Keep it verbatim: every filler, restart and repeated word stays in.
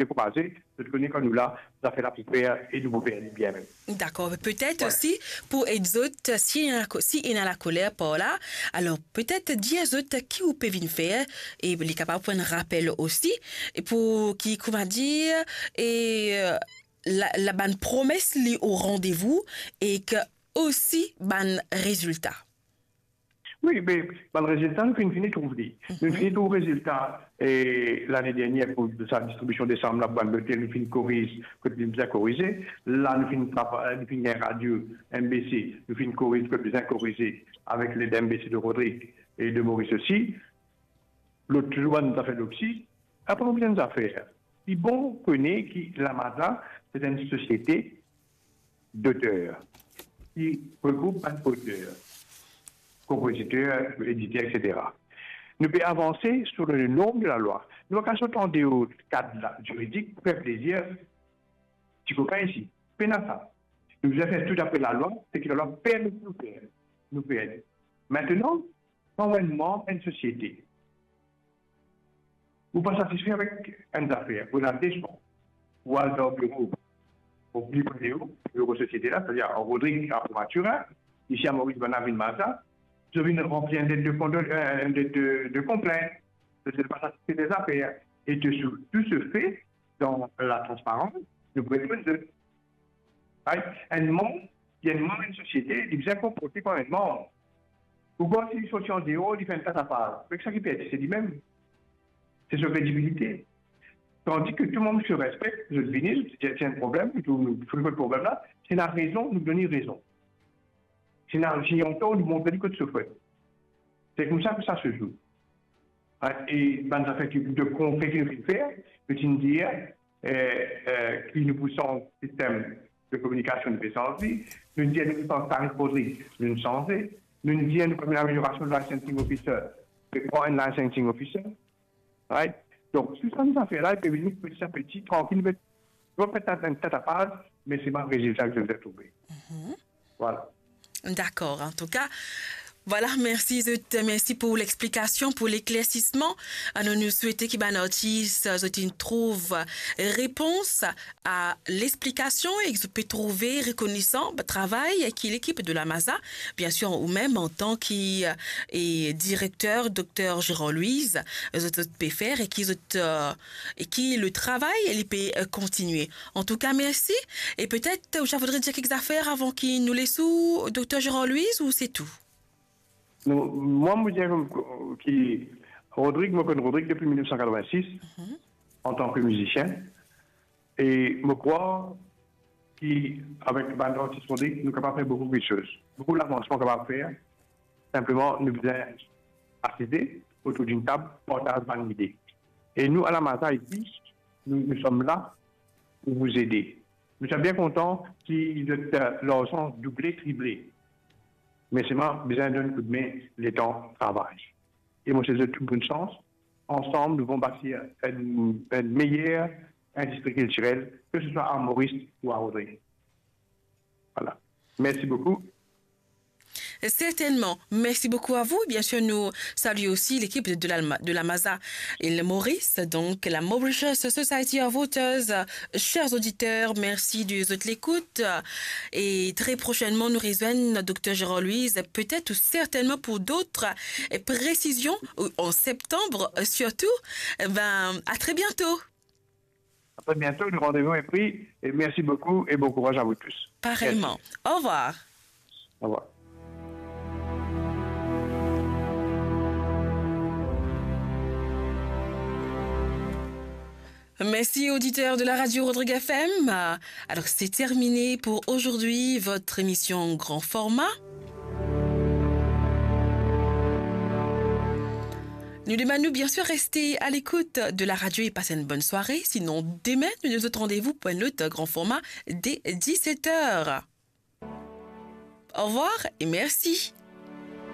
dekouraze, zot kone kan nou la, zafer la pou fer e nou pou fer li bien mem. Dakor, petet osi pou ed zot, si ena lako-, si ena lakoler par la, alor petet dir zot ki ou pe vinn fer, e li kapav pran rapel osi, e pou ki, kouma dir, e, la, la bann promes li o randevou, e ki osi bann rezilta. Wi, me bann rezilta, nou finn fini trouv li. Nou finn fini trouv rezilta, e, lane dernier pou sa distribision desam la, pou bann lotel, nou finn koriz kot li bizin korize. La, nou finn trava-, nou finn gagn radio M B C, nou finn koriz kot bizin korize avek led M B C de Rodrigue e de Maurice osi. Lot, touzour bann zafer loksi. Apre, nou bizin zafer. Li bon kone ki Lamaza, se enn sosiete doter ki regroup bann oter, konpoziter, editer, et cetera. Nou pe avanse sou le norm de lalwa. Nou pa kapav sot andeor kad la, ziridik pou fer plezir ti kopin isi. Pena sa. Nou bizin fer tou dapre lalwa, seki lalwa permet nou fer. Nou fer. Aster, kan ou enn manb enn sosiete, ou pa satisfe avek enn zafer, ou ena de swa, ou al dan biro, ou pli pre de ou, biro sosiete la, setadir Rodrigue a Maturin, isi a Moris bann la vinn Maza, zot vinn ranpli enn let de kondo-, enn let de, de konplint, zot pa satisfe de zafer, e de sou, tou se fe dan latransparans, nou pou reponn zot. Right? Enn manb, enn manb enn sosiete, li bizin konporte kouma enn manb. Ou krwar si li sorti andeor, li fer enn tatapaz, me ki sa ki perdi, se limem. Se so kredibilite. Tandi ki tou manb se respekte, zot vini, zot dir, "Ti ena problem, nou, nou, nou trouv problem la, si ena rezon, nou donn li rezon. Si ena, si li antor, nou montre li kot so fot." Se koumsa ki sa se zwe. E bann zafer ki, de konkre ki nou finn fer, nou finn dir, eh, eh, ki nou pou sanz sistem de kominikasion, nou pe sanz li. Nou dir nou pou sanz tarif Rodrigue, nou sanze. Nou dir nou pou ameliorasion de licensing officer, pe pran enn licensing officer. Right? Donk, tou sa nou zafer la, li pe vini peti a peti, trankil, met, nou pa fer enn tatapaz, me se bann rezilta ki nou trouve. Vwala. Dakor, antouka, vwala, mersi zot, mersi pou lexplikasion, pou leklersisman. Nou, nou swete ki bann artis, zot inn trouv repons a lexplikasion e ki zot pe trouve rekonesan travay ki lekip de Lamaza, biensir, ou mem antan ki, e, direkter, dokter Gérard Louise, zot, zot pe fer e ki zot, e, e ki le travay, li pe, e, kontinie. Antouka, mersi. E petet, ou ti vodre dir kek zafer avan ki nou les ou, dokter Gérard Louise, ou se tou? Non, mwa, mo dir ki Rodrigue, mo konn Rodrigue depi mil nef san katrovin-sis, antan ki mizisien. E mo krwar ki avek bann artis Rodrigue, nou kapav fer boukou kiksoz. Boukou lavansman kapav fer. Sinpleman, nou bizin asize otour d'une table, partaz bann lide. E nou, a Lamaza isi, nou, nous sommes là pour vous aider. Nou ti bien kontan ki zot, e, larzan double, triple. Me selman bizin donn koudme, letan travay. E mo swet zot tou bonn sans. Ansanm, nou pou batir enn, enn meyer indistri kiltirel, ke se swa a Moris ou a Rodrigue. Vwala. Mersi boukou. Certainement. Merci beaucoup à vous. Bien sûr, nous saluons aussi l'équipe de la, de la Maza Île Maurice, donc la Mauritius Society of Authors. Chers auditeurs, merci de votre écoute. Et très prochainement, nous rejoignons notre docteur Gérard Louise, peut-être ou certainement pour d'autres précisions, en septembre surtout. Eh ben, à très bientôt. À très bientôt, le rendez-vous est pris et merci beaucoup et bon courage à vous tous. Pareillement. Merci. Au revoir. Au revoir. Merci, auditeurs de la radio Rodrigue F M. Alors, c'est terminé pour aujourd'hui, votre émission grand format. Nou demann nou, bien sûr, rester à l'écoute de la radio et passer une bonne soirée. Sinon, demain, nous nous donnons rendez-vous pour un autre grand format dès dix-sept heures. Au revoir et merci.